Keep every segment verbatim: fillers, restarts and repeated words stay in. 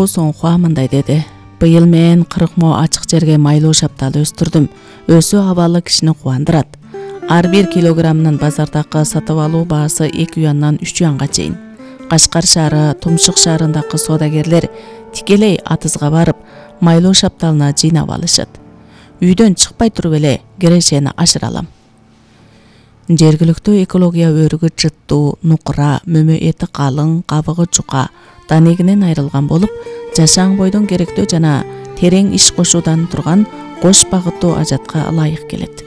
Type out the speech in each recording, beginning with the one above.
Чоң Сонхуа мындай деди: быйыл мен кырк мо ачык жерге майлуу шапталы өстүрдүм. Өсүү абалы кишини кубандырат. Ар бир килограммынын базардагы сатып алуу баасы эки юандан үч юанга чейин. Кашкар шаары, Тумшук шаарындагы соодагерлер тикелей атызга барып, майлуу шапталына жыйнап алышат. Үйдөн чыкпай туруп эле кирешени ашыра алам. Жергиликтүү экология өрүгү жыттуу, нукура, мөмө эти калың, кабыгы жука, данегинен айрылган болуп, жашаң бойдон керектүү жана терең иш кошуудан турган кош багыттуу ажатка ылайык келет.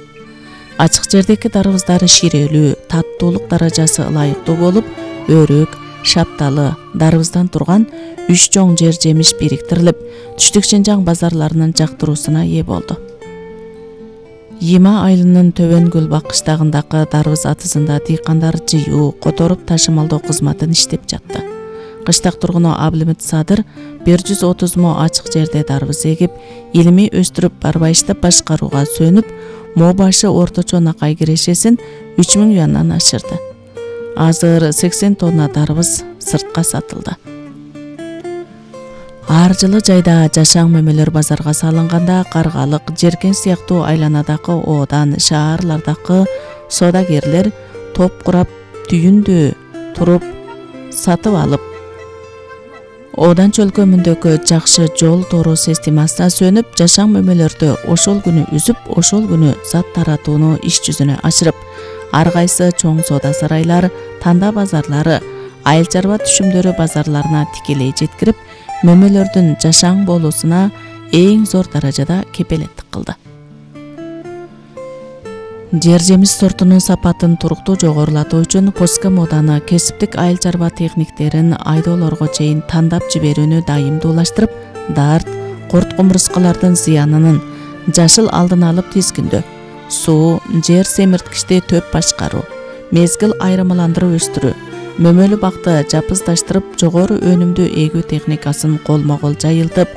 Ачык жердеги дарыбыздар ширелүү, таттуулук даражасы ылайыктуу болуп, өрүк, шапталы, дарыбыздан турган үч чоң жер жемиш бириктирилип, Түштүк Чынжаң базарларынын жактыруусуна ээ болду. Йыма айылынын Төбөн Гүлбак кыштагындагы дарыбыз атызында дыйкандар жыюу, которуп ташымалдоо кызматын иштеп жатты. Кыштак тургуну Абылмыт Садыр бир жүз отуз мо ачык жерде дарбыз эгип, илимий өстүрүп барбайчтап башкарууга сөнүп, мо башы орточо накай кирешесин үч миң юандан ашырды. Азыр сексен тонна дарбыз сыртка сатылды. Ар жылы жайда жашаң мөмөлөр базарга салынганда Каргалык, Жеркен сыяктуу айланадагы оодан, шаарлардагы соодагерлер топ курап, түйүндө туруп сатып алып, оодан чөлкөмүндөгү жакшы жол тору системасына сөнүп, жашаң мөмөлөрдү ошол күнү үзүп, ошол күнү зат таратууну иш жүзүнө ашырып, ар кайсы чоң соода сарайлар, танда базарлары, айыл чарба түшүмдөрү базарларына тикелей жеткирип, мөмөлөрдүн жашаң болуусуна эң зор даражада кепелеттик кылды. Жер жемиш сортунун сапатын туруктуу жогорулатуу үчүн Поска моданы кесиптик айыл чарба техниктерин айдоолорго чейин тандап жиберүүнү дайымдуулаштырып, дарт, корт кумурскалардын зыянынын жашыл алдын алып тизгиндөө, суу, жер семирткичти төп башкаруу, мезгил айырмаландырып өстүрүү, мөмөлүү бакты жапыздаштырып, жогору өнүмдүү эгүү техникасын колмо-кол жайылтып,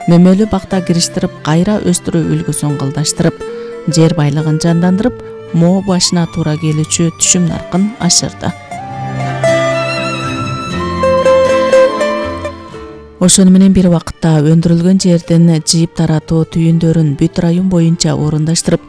мөмөлүү бакта кириштирип, кайра өстүрүү үлгүсүн кылдаштырып, жер байлыгын жандандырып, мо башына туура келүүчү түшүм наркын ашырды. Ошону менен бир убакытта өндүрүлгөн жердин жыйып таратуу түйүндөрүн бүт район боюнча орундаштырып,